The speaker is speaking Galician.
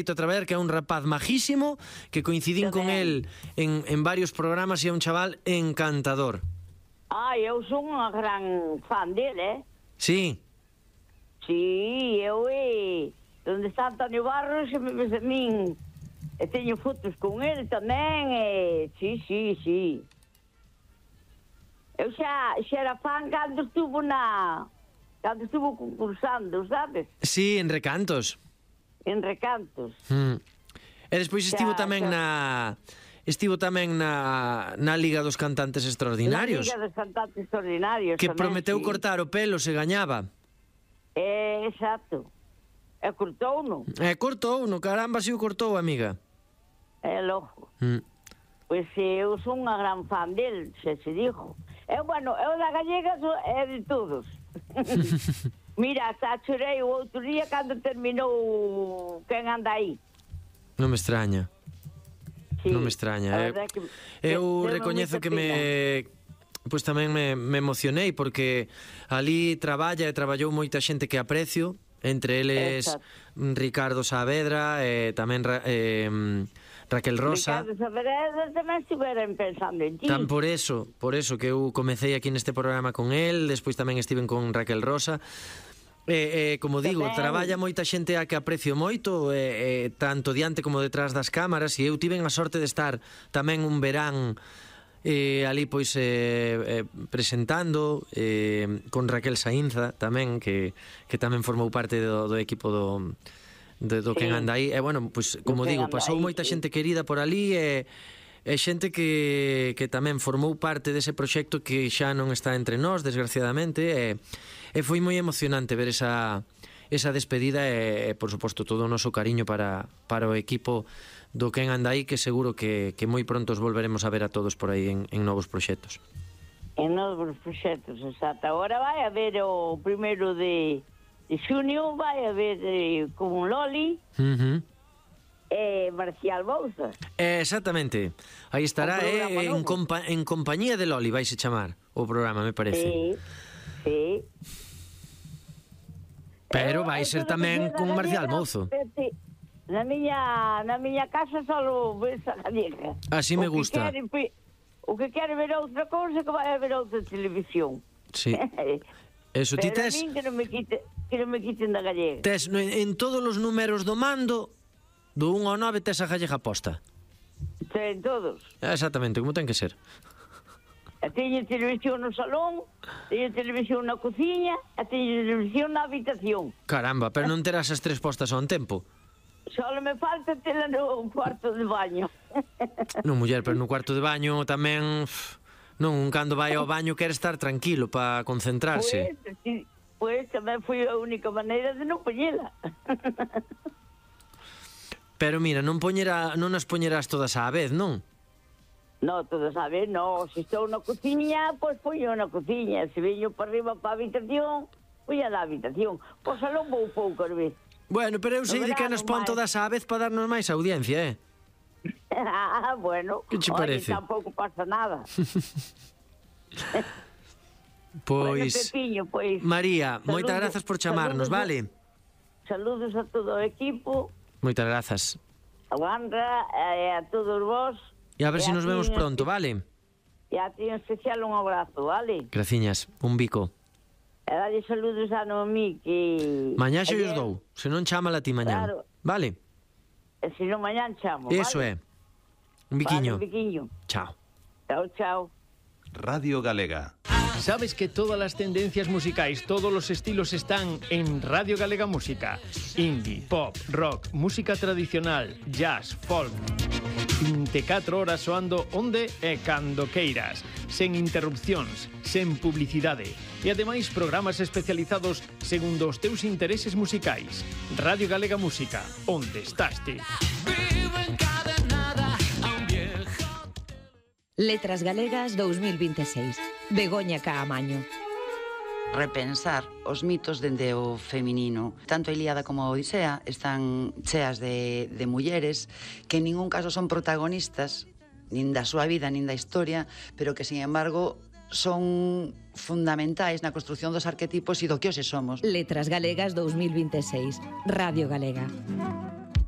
Traver, que é un rapaz majísimo, que coincidín con el en varios programas e é un chaval encantador. Eu son unha gran fan dele, Sí. Sí, eu donde está Antonio Barros, se me ves a min, e teño fotos con ele tamén, sí. Eu xa era fan cando estuvo concursando, sabes? Sí, en Recantos. En Recantos. E despois estivo tamén na Liga dos Cantantes Extraordinarios. Na Liga dos Cantantes Extraordinarios. Que tamén, prometeu sí. cortar o pelo se gañaba. Exacto. E cortou-no. Caramba, si o cortou, amiga. É logo. Pois eu son unha gran fan del, se dixo. Eu da gallega é de todos. Mira, hasta chorei o outro día cando terminou Quen anda aí. Non me extraña. Sí, non me extraña. Eu recoñezo que pois tamén me emocionei porque ali traballou moita xente que aprecio, entre eles Ricardo Saavedra e tamén Raquel Rosa. Ricardo Saavedra tamén estiveron pensando en ti. Por eso que eu comecei aquí neste programa con el, despois tamén estiven con Raquel Rosa. Como digo, traballa moita xente a que aprecio moito, tanto diante como detrás das cámaras, e eu tiven a sorte de estar tamén un verán ali pois presentando con Raquel Saínza tamén, que tamén formou parte do equipo do Quen anda aí. E pois como digo, pasou moita xente querida por ali e xente que tamén formou parte dese proxecto que xa non está entre nós, desgraciadamente, e foi moi emocionante ver esa despedida e por suposto, todo o noso cariño para o equipo do Quen anda aí, que seguro que moi pronto os volveremos a ver a todos por aí en novos proxectos. En novos proxectos, exacto. Agora vai haber o primeiro de xunio, vai haber con Loli, Marcial Bouza. Exactamente. Aí estará en compañía de Loli, vais a chamar o programa, me parece. Sí. Pero vai ser tamén con Marcial Mouzo. Na miña casa só ves a gallega. Así me gusta. O que quere ver outra cousa, que vai a ver outra televisión. Sí. Eso, ti tes... Pero a min que non me quiten da gallega. Tes en todos os números do mando, do 1 ao 9, tes a gallega posta. En todos. Exactamente, como ten que ser. Teño televisión no salón, teño televisión na cociña e teño televisión na habitación. Caramba, pero non terás as tres postas ao tempo. Só me falta tela no cuarto de baño. Non, muller, pero no cuarto de baño tamén... Non, cando vai ao baño quere estar tranquilo para concentrarse. Pois tamén foi a única maneira de non poñela. Pero mira, non as poñerás todas á vez, non? Non, todas a vez, non. Se estou na cociña, pois poño na cociña. Se veño para arriba para a habitación, poño na habitación. Pois salón vou pouco, vez. Bueno, pero eu sei de que nos pon todas á vez para darnos máis audiencia, Bueno. Que che parece? Tampouco pasa nada. Pois, Pepiño, pois... María, moitas grazas por chamarnos, vale? Saludos a todo o equipo. Moitas grazas. A Wandra e a todos vos. E a ver se nos vemos pronto, vale? E a ti en especial un abrazo, vale? Graciñas, un bico. E dalle saludos a Noemí, que... Mañá xe os dou, se non chámala ti mañá, claro. Vale? E se non mañán chamo, Eso vale? Un biquiño. Vale, un biquiño. Chao. Chao. Radio Galega. ¿Sabes que todas las tendencias musicais, todos los estilos están en Radio Galega Música? Indie, pop, rock, música tradicional, jazz, folk. 24 horas soando onde e cando queiras, sen interrupcións, sen publicidade. E ademais programas especializados segundo os teus intereses musicais. Radio Galega Música, onde estás ti? Letras Galegas 2026. Begoña Caamaño. Repensar os mitos dende o feminino. Tanto a Ilíada como a Odisea están cheas de mulleres que en ningún caso son protagonistas nin da súa vida, nin da historia, pero que, sin embargo, son fundamentais na construción dos arquetipos e do que hoxe somos. Letras Galegas 2026. Radio Galega.